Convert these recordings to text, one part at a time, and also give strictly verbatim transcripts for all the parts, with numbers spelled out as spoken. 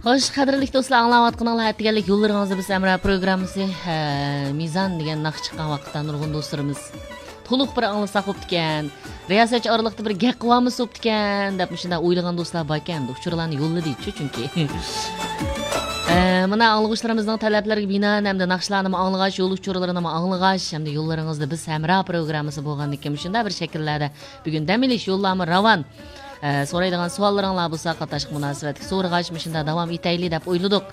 خوش، قەدىرلىك دوستلار، ئاڭلاۋاتقىنىڭلار ئەتىگەنلىك يوللىرىڭىزدا بىز ھەمراھ پروگراممىسى. ھە، مىزان دېگەن ناخشا چىققان ۋاقىتتا نۇرغۇن دوستلىرىمىز تولۇق بىر ئاڭلىساق بوپتىكەن. رىياسەتچى ئارىلىقتا بىر گەپ قىلىۋالمىسا بوپتىكەن دەپ مۇشۇنداق ئويلىغان دوستلار باركەن. ئۇچۇرلارنى يوللىدىچۇ چۈنكى. ئە، مانا ئاڭلىغۇچىلىرىمىزنىڭ تەلەپلىرىگە بىنائەن ھەمدە ناخشىلارنىمۇ ئاڭلىغاچ، يول ئۇچۇرلىرىنىمۇ ئاڭلىغاچ، ھەمدە يوللىرىڭىزدا بىز ھەمراھ پروگراممىسى بولغاندىكىن مۇشۇنداق بىر شەكىللەردە بۈگۈن دەم ئېلىش يوللارمۇ راۋان. ئە، سورايدىغان سوئاللىرىڭلار بولسا قاتناشقا مۇناسىۋەتلىك سورىغاچ مۇشۇنداق داۋام ئېتەيلى دەپ ئويلىدۇق.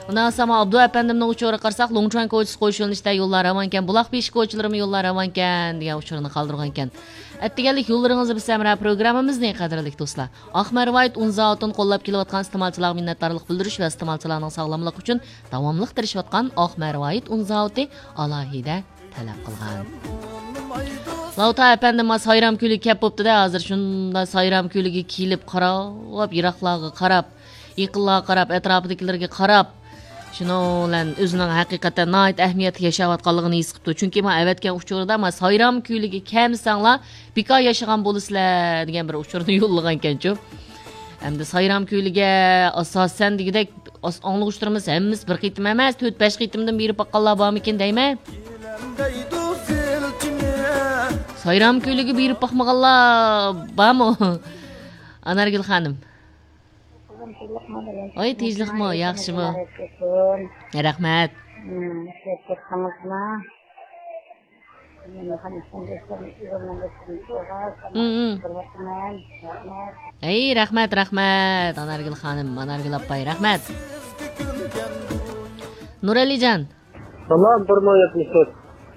ئۇنداق بولسا ئابدۇ ئەپەندىمنىڭ ئۇچۇرىغا قارىساق، لۇڭچۇەن كوچىسى قوشۇلۇشتا يوللار راۋانكەن، بۇلاق بېشى كوچىلىرىمۇ يوللار راۋانكەن دېگەن ئۇچۇرنى قالدۇرغانكەن. ئەتىگەنلىك يوللىرىڭىزدا بىز ھەمراھ پروگراممىمىزنى، قەدىرلىك دوستلار. ئاق مەرۋايىت ئۇن زاۋۇتىنى قوللاپ كېلىۋاتقان ئىستېمالچىلارغا مىننەتدارلىق بىلدۈرۈش ۋە ئىستېمالچىلارنىڭ ساغلاملىقى ئۈچۈن داۋاملىق تىرىشىۋاتقان ئاق مەرۋايىت ئۇن زاۋۇتى ئالاھىدە تەلەپ قىلغان. لاۋتا ئەپەندىم، ما سايرام كۆلىگە كەپ بوپتۇ-دە، ھازىر شۇنداق سايرام كۆلىگە كېلىپ قاراپ، يىراقلارغا قاراپ، يېقىنلارغا قاراپ، ئەتراپىدىكىلەرگە قاراپ، شۇنىڭ بىلەن ئۆزىنىڭ ھەقىقەتەن ناھايىتى ئەھمىيەتلىك ياشاۋاتقانلىقىنى ھېس قىپتۇ. چۈنكى ما ئەۋەتكەن ئۇچۇرىدا، ما سايرام كۆلىگە كەلمىسەڭلار، بىكار ياشىغان بولىسىلەر دېگەن بىر ئۇچۇرنى يوللىغانكەنچۇ. ئەمدى سايرام كۆلىگە ئاساسەن دېگۈدەك ئاس-، ئاڭلىغۇچىلىرىمىز ھەممىسى بىر قېتىم ئەمەس، تۆت، بەش قېتىمدىن بېرىپ باققانلار بارمىكىن دەيمەن. سايرام كۆلىگە بېرىپ باقمىغانلار بارمۇ؟ ئانارگۈل خانىم. ئاي، تىنچلىقمۇ، ياخشىمۇ؟ رەھمەت. ئەي، رەھمەت، رەھمەت، ئانارگۈل خانىم، ئانارگۈل ئاپاي، رەھمەت. نۇرئەلىجان. سالام، بىر مىڭ يەتمىش تۆت.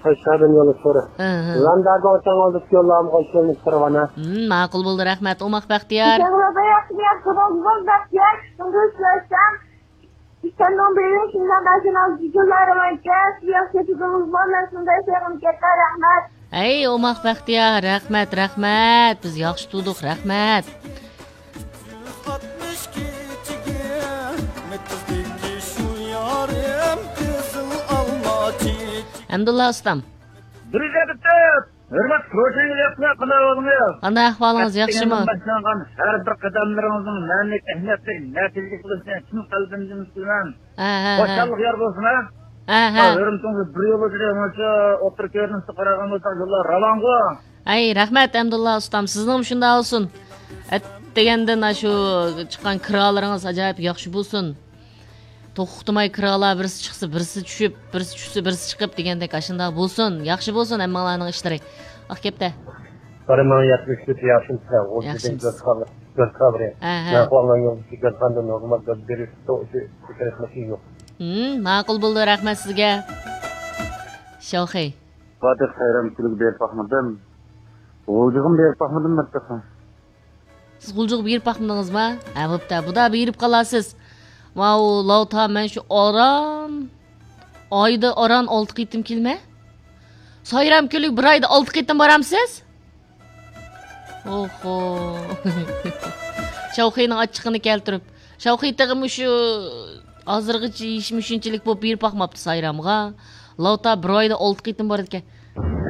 قەشقەردىن يوللۇق سورا. ئىھى. لاندادا ئوتاڭ ئالدىپ يوللارمۇ قوشۇلۇپ تۇرغان، ھە؟ ھىم، ماقۇل بولدى، رەھمەت. ئوماق بەختىيار. ئىشەنمەڭ، بۈگۈن شۇنداق ناشونال جۇجۇلار ئەمەسكەن، سىز ياخشى تۇردىڭىزمۇ؟ مەن شۇنداق سېغىنىپ كەتتىم، رەھمەت. ئەي، ئوماق بەختىيار، رەھمەت، رەھمەت. بىز ياخشى تۇردۇق، رەھمەت. ھەمدۇللا ئۇستام. بىر گەپ ئېيتىپ، ھۆرمەتلىك روشەنگۈل ياقىنلار، قانداق ئەھۋالىڭىز؟ ئەتىگەندىن ياخشىمۇ؟ باشلانغان ھەر بىر قەدەملىرىڭىزنىڭ مەنىلىك، ئەھمىيەتلىك، نەتىجىلىك بولۇشىنى چىن قەلبىمدىن ئۈمىد قىلىمەن. ھە، ھە، ھە. خۇشاللىق يار بولسۇن، ھە؟ ھە، ھە. ھۆرمىتىڭىز بىر يول ئۈستىدە مانا شۇ ئوتتۇرا كۆرۈنۈشتە قارىغان بولساق، يوللار راۋانغۇ. ئەي، رەھمەت، ئەمدۇللا ئۇستام، سىزنىڭمۇ شۇنداق بولسۇن. ئەتىگەندىن ئاشۇ چىققان كىرالىرىڭىز ئاجايىپ ياخشى بولسۇن. توختىماي كىرالار، بىرسى چىقسا، بىرسى چۈشۈپ، بىرسى چۈشسە، بىرسى چىقىپ دېگەندەك ئاشۇنداق بولسۇن، ياخشى بولسۇن ھەممىڭلارنىڭ ئىشلىرى. ئاق كەپتە. بىر مىڭ يەتمىش تۆت ياخشىمۇ سىلەر؟ ئۇ ياخشىمۇ. گۆز خەۋىرى. ھە، ھە. مەن قوغلان يولدىشى گۆزخاندا نورمال گۆز بېرىش توغرىسى كۆتۈرۈشمىسى يوق. ھىم، ماقۇل بولدى، رەھمەت سىزگە. شاۋخەي. باتىق سايرام كۆلىگە بېرىپ باقمىدىم. غۇلجىغىمۇ بېرىپ باقمىدىم، باتىق. سىز غۇلجىغا بېرىپ باقمىدىڭىزما؟ ھە، بوپتۇ، بۇدا بېرىپ قالارسىز. ماۋۇ لاۋتا، مەن شۇ ئاران، ئايدا ئاران ئالتە قېتىم كېلىمەن. سايرام كۆلىگە بىر ئايدا ئالتە قېتىم بارامسىز؟ ئوھو. شاۋخېينىڭ ئاچچىقىنى كەلتۈرۈپ. شاۋخېي تېخىمۇ شۇ ھازىرغىچە يېشىمۇ شۇنچىلىك بولۇپ بېرىپ باقماپتۇ سايرامغا. لاۋتا بىر ئايدا ئالتە قېتىم بارىدىكەن.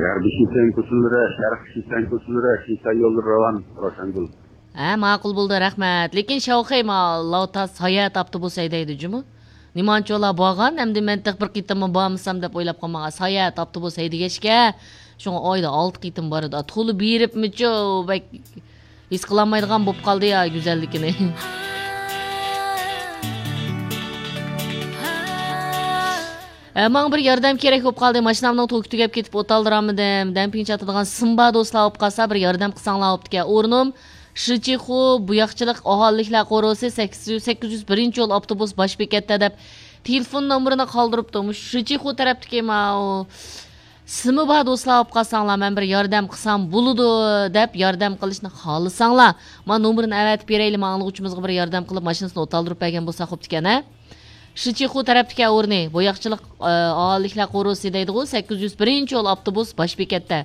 غەربىي شىسەن كوچىلىرى، شەرقىي شىسەن كوچىلىرى، شىسەن يوللىرى راۋان، روشەنگۈل. ھە، ماقۇل بولدى، رەھمەت. لېكىن شاۋخېي ما لاۋتا ساياھەت ئاپتوبۇس ھەيدەيدۇ جۇمۇ. نېمانچىۋالا بارغان، ئەمدى مەن تېخى بىر قېتىممۇ بارمىسام دەپ ئويلاپ قالمىغان. ساياھەت ئاپتوبۇس ھەيدىگەچكە، شۇڭا ئايدا ئالتە قېتىم بارىدۇ. تولا بېرىپمىچۇ، بەك ھېس قىلالمايدىغان بولۇپ قالدى يا گۈزەللىكىنى. ئە، ماڭا بىر ياردەم كېرەك بولۇپ قالدى. ماشىنامنىڭ توكى تۈگەپ كېتىپ ئوتالدۇرالمىدىم. دەمپىڭ چاتىدىغان سىمبا دوستلار بولۇپ قالسا، بىر ياردەم قىلساڭلار بوپتىكەن. ئورنۇم شىچىخۇ بوياقچىلىق ئاھالىلىكلەر قورۇسى، سەككىز يۈز، سەككىز يۈز بىرىنچى يول ئاپتوبۇس باش بېكەتتە دەپ تېلېفون نومۇرىنى قالدۇرۇپتۇ. مۇشۇ شىچىخۇ تەرەپتىكى ماۋۇ سىمى بار دوستلار بولۇپ قالساڭلار، مەن بىر ياردەم قىلسام بولىدۇ دەپ ياردەم قىلىشنى خالىساڭلار، ما نومۇرىنى ئەۋەتىپ بېرەيلى، ما ئاڭلىغۇچىمىزغا بىر ياردەم قىلىپ ماشىنىسىنى ئوتالدۇرۇپ بەرگەن بولساق بوپتىكەن، ھە؟ شىچىخۇ تەرەپتىكى ئورنى، بوياقچىلىق، ئە، ئاھالىلىكلەر قورۇسى دەيدىغۇ، سەككىز يۈز بىرىنچى يول ئاپتوبۇس باش بېكەتتە.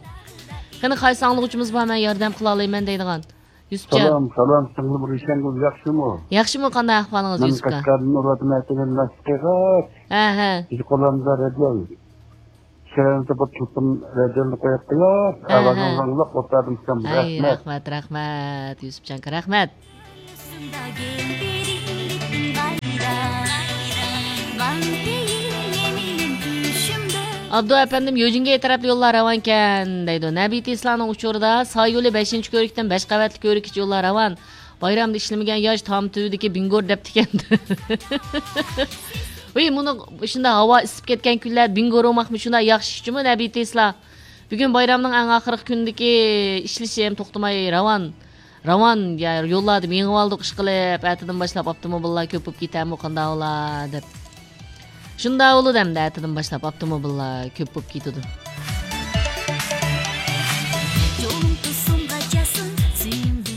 قېنى قايسى ئاڭلىغۇچىمىز بار، مەن ياردەم قىلالايمەن دەيدىغان؟ يۈسۈپجان. سالام، سالام، سىڭلىم رىشەنگۈل، ياخشىمۇ؟ ياخشىمۇ، قانداق ئەھۋالىڭىز، مەن يۈسۈپجان؟ قەشقەردىن ئۇرۇۋاتىمەن، ئەتىگەن ناشتا قىلغاچ. ھە، ھە. بىز قولىمىزدا رەدىيال. شەھەردە بىر تۇتۇم رەدىيالنى قويۇپ قويۇپ، ھە، ئاۋازىڭىزنى ھە. ئاڭلاپ ئولتۇردۇم، ئۇكام. ئەي، رەھمەت. رەھمەت، رەھمەت، يۈسۈپجانكا، رەھمەت. ئابدۇ ئەپەندىم، يوجىنگەي تەرەپلىك يوللار راۋانكەن دەيدۇ. نەبىتى ئىسلامنىڭ ئۇچۇرىدا سا يولى بەشىنچى كۆرۈكتىن بەش قەۋەتلىك كۆرۈككىچە يوللار راۋان. بايرامدا ئىشلىمىگەن ياش تام تۈۋىدىكى بىڭگور دەپتىكەن. ۋىي، مۇنۇ شۇنداق ھاۋا ئىسسىپ كەتكەن كۈنلەر بىڭگور ئوماقمۇ شۇنداق ياخشى ئىشچىمۇ نەبىتى ئىسلام؟ بۈگۈن بايرامنىڭ ئەڭ ئاخىرقى كۈنىدىكى ئىشلىشىم توختىماي راۋان. راۋان، يا، يوللاردا مېڭىۋالدۇق، ئىشقىلىپ، ئەتىدىن باشلاپ ئاپتوموبىللار كۆپ بولۇپ كېتەرمۇ، قانداق بولا، دەپ. شۇنداق بولىدۇ ئەمدى، ئەتىدىن باشلاپ ئاپتوموبىللار كۆپ بولۇپ كېتىدۇ.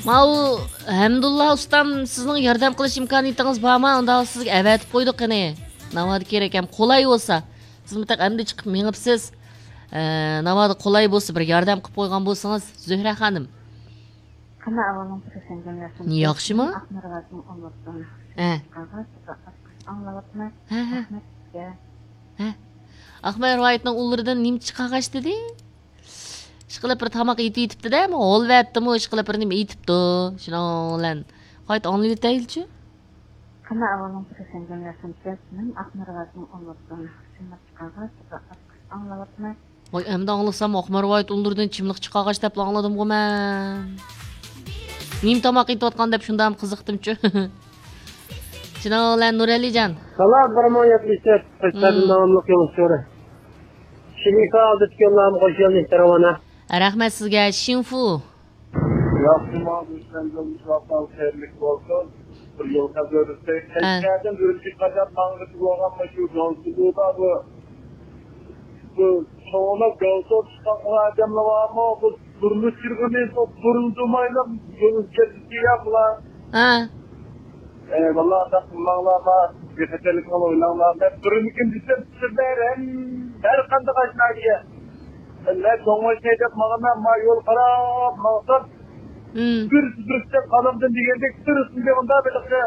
ماۋۇ ھەمدۇللا ئۇستام، سىزنىڭ ياردەم قىلىش ئىمكانىيىتىڭىز بارمۇ؟ ئۇنداق سىزگە ئەۋەتىپ قويدۇق قېنى. ناۋادا كېرەك ھەم قولاي بولسا، سىزمۇ تېخى ئەمدى چىقىپ مېڭىپسىز. ئە، ناۋادا قولاي بولسا، بىر ياردەم قىلىپ قويغان بولسىڭىز، زۆھرە خانىم. قانداق ئەھۋالىڭ، پۇرسەتلەرنى ياخشىمۇ؟ ياخشىمۇ؟ ئاقمارۋاتنىڭ ئولمۇرتىدىن ھە. قاغاز ئاڭلاۋاتىمەن. ھە، ھە. رەھمەت سىزگە. ھە. ئاقمارۋايىتنىڭ ئۇلىرىدىن نېمە چىقارغاچ دېدى؟ ئىشقىلىپ بىر تاماق ئېتىۋېتىپتىدە، ھول ۋەتتىمۇ، ئىشقىلىپ بىر نېمە ئېتىپتۇ. شۇنىڭ بىلەن قايتا ئاڭلىۋېتەيلىچۇ؟ قانداق ئەھۋالىڭ، پۇرسەتلەرنى ياخشىمۇ؟ مەن ئاقمارۋاتنىڭ ئولمۇرتىدىن قاغاز ئاڭلاۋاتىمەن. ۋاي، ئەمدى ئاڭلىسام، ئاقمارۋايىت ئۇلىرىدىن چىملىق چىقارغاچ دەپلا ئاڭلىدىمغۇ مەن. نېمە تاماق ئېتىۋاتقان دەپ شۇنداقمۇ قىزىقتىمچۇ. شۇنىڭ بىلەن نۇرئەلىجان. سالام، بىر مىڭ يەتمىش تۆت، قەشقەردىن داۋاملىق يول ئۇچۇرى. شىنفۇ ئالدى تىكەنلەرمۇ خوش يولنى ئىشتە راۋانە. رەھمەت سىزگە، شىنفۇ. ياخشىمۇ، بىزدىن مۇشۇ ۋاقىت خەيرلىك بولسۇن. بىر يول قەزەۋېتسەك، ھە. قەشقەردىن ئۈرۈمچىگە قاچان ماڭغۇچە بولغان مۇشۇ يول سۈپىتى بۇ. بۇ سوغۇلۇپ يول سوغۇپ چىققان ئادەملەر بارمۇ؟ بۇ تۇرمۇش كىرگۈنى بۇرۇلدۇرمايلا يول كەتكۈچى ياقلار. ھە. ئەي، ۋاللا، ئۇنداق قىلماڭلار، ما، بىخەتەرلىكنى ئويلاڭلار. مەن بىرىنىكىن دېسەم، سىلەر ھەم، ھەر قانداق ئاشناگە. مەن چوڭ ماشىنا ھەيدەپ ماڭىمەن، ما يول قاراپ ماڭسام، مم. بىر، بىر قانامدىن دېگەندەك، بىر ئۈستۈمگە ئۇنداق بېلىقى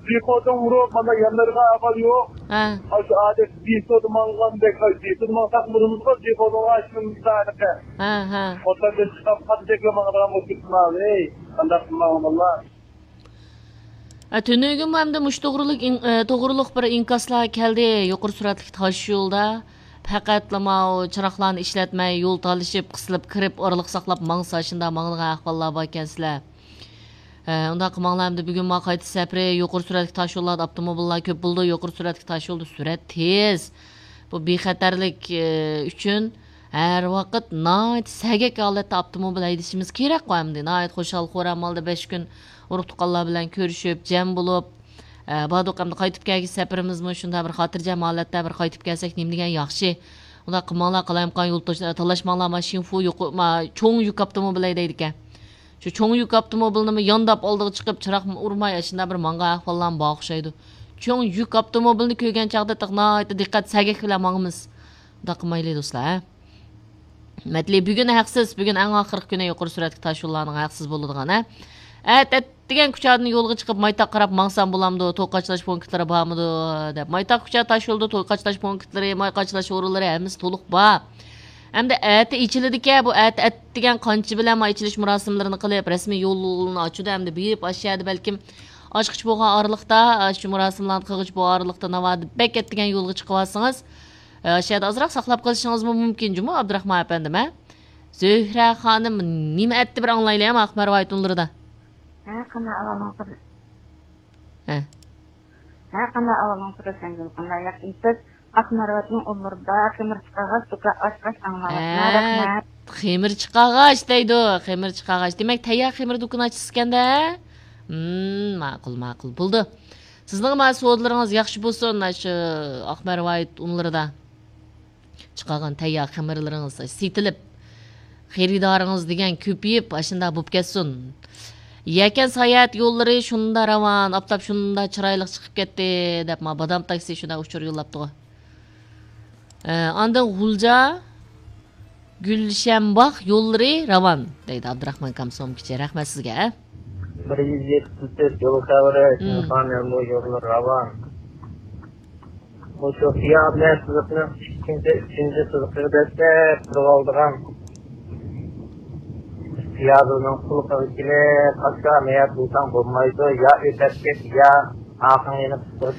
دېپودىن ئۇرۇپ، مانا يانلىرىغا ئامال يوق. ھە. ئاشۇ ئادەت دېپودا ماڭغاندەك، دېپودا ماڭساق بولىمىزغۇ، دېپودىن ئاشۇ مۇسابىقە. ھە، ھە. خوتەندىن چىقىپ، قاتتەكلا ماڭىدىغان بولۇپ كېتىپمۇ، ھەي، قانداق قىلماڭلار. ھە، تۈنۈگۈنمۇ ئەمدى مۇشۇ توغرىلىق ئىن-، ئە، توغرىلىق بىر ئىنكاسلار كەلدى. يۇقىرى سۈرئەتلىك تاش يولدا پەقەتلا ماۋۇ چىراغلارنى ئىشلەتمەي، يول تالىشىپ، قىسىلىپ كىرىپ، ئارىلىق ساقلاپ ماڭسا، شۇنداق ماڭىدىغان ئەھۋاللار باركەنسىلەر. ھە، ئۇنداق قىلماڭلار ئەمدى، بۈگۈن ما قايتىش سەپىرى يۇقىرى سۈرئەتلىك تاش يوللاردا ئاپتوموبىللار كۆپ بولىدۇ، يۇقىرى سۈرئەتلىك تاش يولدا سۈرئەت تېز. بۇ بىخەتەرلىك، ئە، ئۈچۈن ھەر ۋاقىت ناھايىتى سەگەك ھالەتتە ئاپتوموبىل ھەيدىشىمىز كېرەكقۇ ئەمدى. ناھايىتى خۇشال-خۇرام ھالدا بەش كۈن ئۇرۇق-تۇغقانلار بىلەن كۆرۈشۈپ، جەم بولۇپ، ئە، باردۇق ئەمدى قايتىپ كەلگۈچە سەپىرىمىزمۇ شۇنداق بىر خاتىرجەم ھالەتتە بىر قايتىپ كەلسەك نېمە دېگەن ياخشى. ئۇنداق قىلماڭلار، قالايمىقان يول توش-، تالاشماڭلار، ما شىنفۇ يۇقى-، ما چوڭ يۈك ئاپتوموبىلى ھەيدەيدىكەن. شۇ چوڭ يۈك ئاپتوموبىلنىمۇ يانداپ ئالدىغا چىقىپ، چىراغ ئۇرماي، ئاشۇنداق بىر ماڭغان ئەھۋاللارمۇ بار ئوخشايدۇ. چوڭ يۈك ئاپتوموبىلنى كۆرگەن چاغدا تېخى ناھايىتى دىققەت سەگەك بىلەن ماڭىمىز. ئۇنداق قىلمايلى دوستلار، ھە؟ مەتلى بۈگۈن ھەقسىز، بۈگۈن ئەڭ ئاخىرقى كۈنى يۇقىرى سۈرئەتلىك تاش يوللارنىڭ ھەقسىز بولىدىغان، ھە؟ ئەتە ئەتىگەن كۇچادىن يولغا چىقىپ مايتاق قاراپ ماڭسام بولامدۇ؟ توي قاچىلاش پونكىتلىرى بارمىدۇ؟ دەپ. مايتاق كۇچا تاش يولدا توي قاچىلاش پونكىتلىرى، ماي قاچىلاش ئورۇنلىرى ھەممىسى تولۇق بار. ئەمدى ئەتە ئېچىلىدىكەن، بۇ ئەتە ئەتىگەن قانچە بىلەن ما ئېچىلىش مۇراسىملىرىنى قىلىپ، رەسمىي يولنى ئاچىدۇ. ئەمدى بېرىپ ئاشۇ يەردە بەلكىم ئاچقۇچ بولغان ئارىلىقتا، شۇ مۇراسىملارنى قىلغۇچ بولغان ئارىلىقتا ناۋادا بەك ئەتىگەن يولغا چىقىۋالسىڭىز، ئاشۇ يەردە ئازراق ساقلاپ قېلىشىڭىزمۇ مۇمكىن جۇمۇ، ئابدۇراخمان ئەپەندىم، ھە؟ زۆھرە خانىم نېمە ئەتتى بىر ئاڭلايلى، ھە، ئاقمارۋايىت ئۇلىرىدا. ھە، قانداق ئەھۋالىڭىز؟ ھە. ھە، قانداق ئەھۋالىڭىز؟ قانداق ياخشىمۇسىز؟ ئاقمارۋاتنىڭ ئۇلىرىدا خېمىر چىقارغاچ، دۇكان ئاچقاچ ئاڭلاۋاتىمەن. ھە، رەھمەت. خېمىر چىقارغاچ دەيدۇ، خېمىر چىقارغاچ. دېمەك، تەييار خېمىر دۇكىنى ئاچىسىكەن-دە. ھىم، ماقۇل، ماقۇل. بولدى. سىزنىڭ ما سودىلىرىڭىز ياخشى بولسۇن، شۇ ئاقمارۋايىت ئۇلىرىدا. چىقارغان تەييار خېمىرلىرىڭىز سېتىلىپ، خېرىدارىڭىز دېگەن كۆپىيىپ، ئاشۇنداق بولۇپ كەتسۇن. يەكەن ساياھەت يوللىرى شۇنداق راۋان، ئاپتاپ شۇنداق چىرايلىق چىقىپ كەتتى، دەپ ما بادام تاكسى شۇنداق ئۇچۇر يوللاپتىغۇ. ئە، ئاندىن غۇلجا، گۈلشەنباغ يوللىرى راۋان، دەيدۇ ئابدۇراخمان كامسومكىچى. رەھمەت سىزگە. بىر يۈز يەتمىش تۆت يول خەۋىرى، مم. شىنخۇا مەنبۇ يوللىرى راۋان. مۇشۇ پىيادىلەر سىزىقنىڭ ئىككىنچى، ئۈچىنچى سىزىقىغا دەسسەپ تۇرۇۋالىدىغان پىيادىلەرنىڭ قۇلىقىغا كېلىپ، ئاشۇ مەيەت بولساڭ بولمايدۇ، يا ئۆتەپ كەت، يا ئارقاڭ يېنىپ تۇرۇپ